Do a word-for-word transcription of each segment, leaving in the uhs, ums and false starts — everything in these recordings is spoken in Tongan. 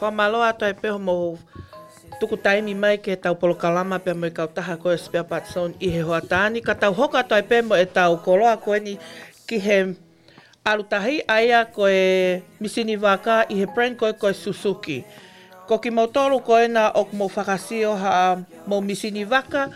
Fakamālō atu ai pē hoʻomou tuku taimi mai ki heʻetau polokalama pea mo e kautaha ko e Spare Parts Zone ʻi he hoʻatā ni, ka tau hoko atu ai pē mo ʻetau koloa ko eni ki he ʻalu tahi, ʻa ia ko e misini vaka ʻi he brand ko e, ko e Suzuki. Ko kimoutolu ko ena ʻoku mou fakasio haʻamou misini vaka,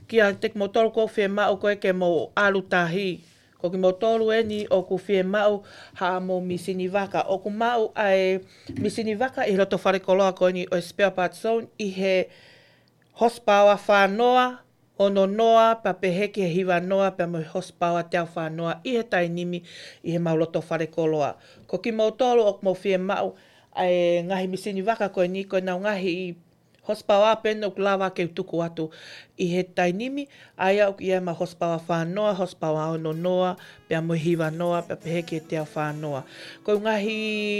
kiate kimoutolu ʻoku fiemaʻu ko e ke mou ʻalu tahi. Ko kimoutolu eni ʻoku fiemaʻu haʻamou misini vaka. ʻOku maʻu ʻa e misini vaka ʻi loto fale koloa ko eni ʻo e Spare Parts Zone ʻi he horsepower fā noa, ono noa, pea pehē ki he hiva noa, pea mo e horsepower teau fā noa ʻi he taimi ni ʻi heʻemau loto fale koloa. Ko kimoutolu ʻoku mou fiemaʻu ʻa e ngaahi misini vaka ko eni, ko ʻenau ngaahi horsepower pē ʻoku lava ke u tuku atu ʻi he taimi ni, ʻa ia ʻoku ʻi ai ʻemau horsepower fā noa, horsepower ono noa, pea mo e hiva noa, pea pehē ki he teau fā noa. Ko e ngaahi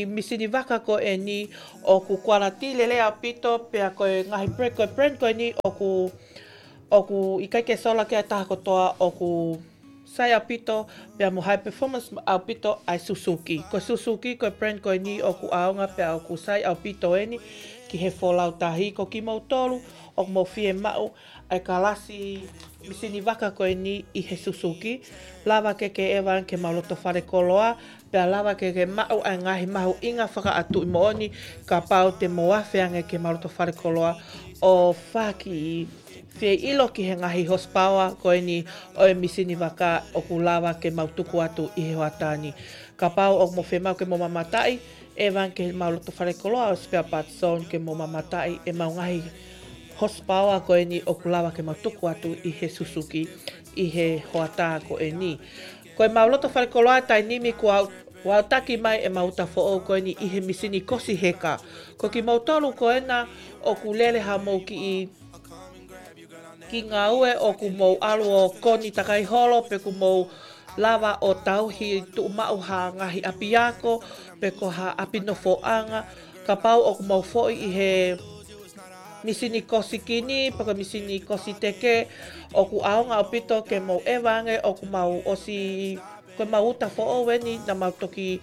misini vaka ko eni ʻoku quality lelei ʻaupito, pea ko e ngaahi brand, ko e brand ko eni ʻoku, ʻoku ʻikai ke sola ki ai ha taha kotoa, ʻoku sai ʻaupito, pea mo e high performance ʻaupito ʻa e Suzuki. Ko e Suzuki, ko e brand ko eni ʻoku ʻaonga pea ʻoku sai ʻaupito eni ki he folau tahi. Ko kimoutolu ʻoku mou fiemaʻu ʻa e kalasi misini vaka ko eni ʻi he Suzuki, lava ke ke ʻeva ange ki heʻemau loto fale koloa, pea lava ke ke maʻu ʻa e ngaahi mahuʻinga fakaʻatuʻi moʻoni, kapau te mou afe ange ki heʻemau loto fale koloa ʻo faki fie ʻilo ki he ngaahi horsepower ko eni ʻo e misini vaka ʻoku lava ke mau tuku atu ʻi he hoʻatā ni. Kapau ʻoku mou fiemaʻu ke mou mamataʻi, ʻeva ange ki heʻemau loto fale koloa ʻo e Spare Parts Zone ke mou mamataʻi ʻemau ngaahi horsepower ko eni ʻoku lava ke mau tuku atu ʻi he Suzuki ʻi he hoʻatā ko eni. Ko ʻemau loto fale koloa taimi ni kuo aʻu, kuo aʻutaki mai ʻemau uta foʻou ko eni ʻi he misini kosi heka. Ko kimoutolu ko ena ʻoku lele haʻamou kiʻi, kiʻi ngāue ʻoku mou ʻalu ʻo koni takai holo, pe ʻoku mou lava ʻo tauhi tuʻumaʻu ha ngaahi ʻapiako, pe ko ha ʻapi nofoʻanga, kapau ʻoku mou foʻi ʻi he misini kosi kini, pe ko e misini kosi teke, ʻoku ʻaonga ʻaupito ke mou ʻeva ange, ʻoku mau ʻosi, ko ʻemau uta foʻou eni naʻa mau toki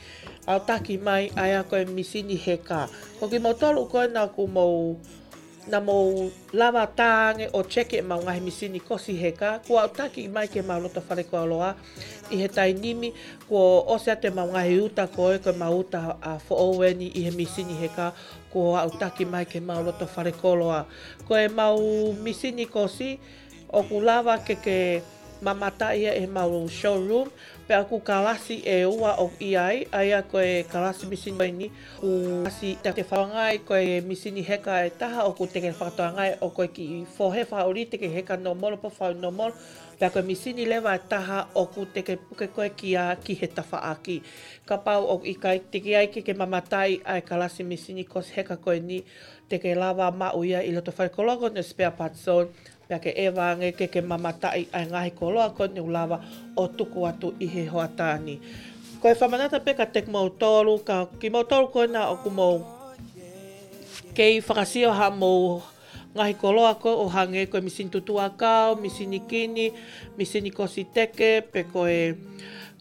aʻutaki mai, ʻa ia ko e misini heka. Ko kimoutolu ko ena ʻoku mou, naʻa mou lava tā ange ʻo check ʻemau ngaahi misini kosi heka, kuo aʻutaki mai ki heʻemau loto fale koloa ʻi he taimi ni, kuo ʻosi atu ʻemau ngaahi uta ko e, ko ʻemau uta, ā, foʻou eni ʻi he misini heka, kuo aʻutaki mai ki heʻemau loto fale koloa. Ko ʻemau misini kosi, ʻoku lava ke ke mamataʻi ia ʻi heʻemau showroom, pea ʻoku kalasi ʻe ua ʻoku ʻi ai, ʻa ia ko e kalasi misini ko eni, ʻoku kalasi te ke fakatokangaʻi ko e misini heka ʻe taha ʻoku te ke fakatokangaʻi ʻoku ʻikai ke fohe fakaʻuli, te ke heka nōmolo pe fau nōmolo, pea ko e misini leva ʻe taha ʻoku te ke puke ko e kia ki he tafaʻaki. Kapau ʻoku ʻikai, teʻeki ai ke ke mamataʻi ʻa e kalasi misini kosi heka ko eni, te ke lava maʻu ia ʻi loto fale koloa ko eni ʻo e Spare Parts Zone, pea ke ʻeva ange ke ke mamataʻi ʻa e ngaahi koloa ko eni ʻoku lava ʻo tuku atu ʻi he hoʻatā ni. Ko e fakamanatu pē kiate kimoutolu, ka kimoutolu ko ena ʻoku mou kei fakasio haʻamou ngaahi koloa ko ē ʻo hangē ko e misini tutuʻa kau, misini kini, misini kosi teke, pe ko e,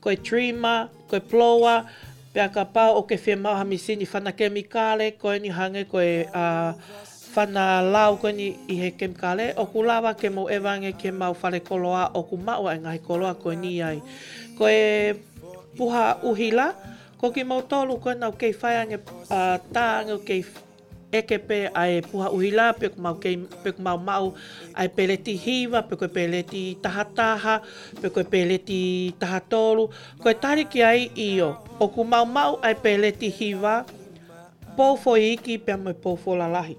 ko e trimmer, ko e blower, pea kapau ʻoku ke fiemaʻu ha misini fana kemikale, ko eni hangē ko e, ā, fana lau ko eni ʻi he kemikale, ʻoku lava ke mou ʻeva ange ki heʻemau fale koloa ʻoku maʻu ʻa e ngaahi koloa ko eni ai. Ko e puha ʻuhila, ko kimoutolu ko ena ʻoku kei fai ange, ā, tā ange ʻoku kei ʻeke pē ʻa e puha ʻuhila, pe ʻoku mau kei, pe ʻoku mau maʻu ʻa e peleti hiva, pe ko e peleti taha taha, pe ko e peleti taha tolu. Ko e tali ki ai, ʻio, ʻoku mau maʻu ʻa e peleti hiva, pou foʻi iiki pea mo e pou foʻi lalahi.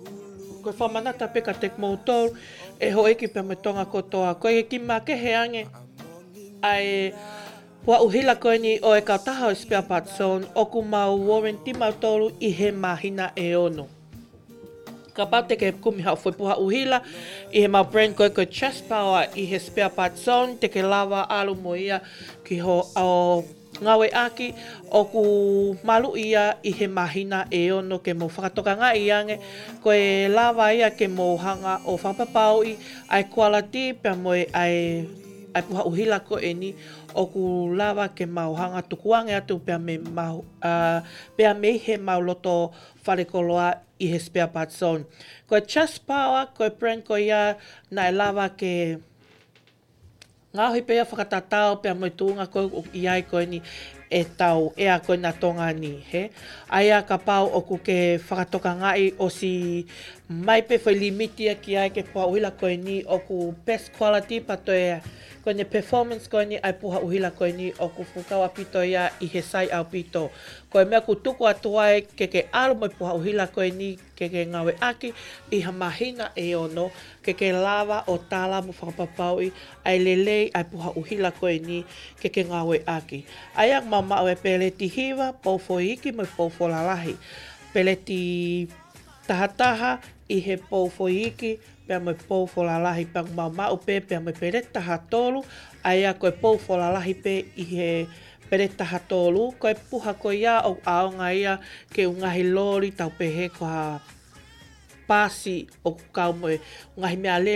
Ko e fakamanatu pē kiate kimoutolu, ʻe houʻeiki pea mo e Tonga kotoa. Ko e kiʻi makehe ange ʻa e puha ʻuhila ko eni ʻo e kautaha ʻo e Spare Parts Zone, ʻoku mau warranty mautolu ʻi he māhina ʻe ono. Kapau te ke kumi haʻo foʻi puha ʻuhila ʻi heʻemau brand ko e, ko e Chest Power ʻi he Spare Parts Zone, te ke lava ʻalu mo ia ki hoʻo ngāueʻaki, ʻoku maluʻi ia ʻi he māhina ʻe ono ke mou fakatokangaʻi ange, ko e lava ia ke mou hanga ʻo fakapapauʻi ʻa e quality pea mo e ʻa e ʻa e puha ʻuhila ko eni ʻoku lava ke mau hanga tukuange atu pea mei mau, ʻa, pea mei he mau loto fale koloa ʻi he spare parts zone. Ko e Just Power, ko e brand ko ia naʻe lava ke ngaohi pē ia fakatatau pea mo e tuʻunga ko ē ʻoku ʻi ai ko eni ʻetau ʻea ko ena Tonga ni, hē? ʻA ia kapau ʻoku ke fakatokangaʻi ʻosi mai pē foʻi limiti ia ki ai ki he puha ʻuhila ko eni ʻoku best quality pea toe ko eni performance ko eni ʻa e puha ʻuhila ko eni ʻoku fuʻu kau ʻaupito ia ʻi he sai ʻaupito. Ko e meʻa ʻoku tuku atu ai ke ke ʻalu mo e puha ʻuhila ko eni ke ke ngāueʻaki ʻi ha māhina ʻe ono, ke ke lava ʻo tala mo fakapapauʻi ʻa e lelei ʻa e puha ʻuhila ko eni ke ke ngāueʻaki. ʻA ia ʻoku mau maʻu e peleti hiva, pou foʻi iiki mo e pou foʻi lalahi. Peleti tahataha ʻi he pou foʻi iiki pea mo e pou foʻi lalahi, pea ʻoku mau maʻu pē pea mo e peleti tahatolu, ʻa ia ko e pou foʻi lalahi pē ʻi he peleti tahatolu. Ko e puha ko ia ʻoku ʻaonga ia ki he ngaahi loli tau pehē ko ha pasi ʻoku kau mo e ngaahi meʻa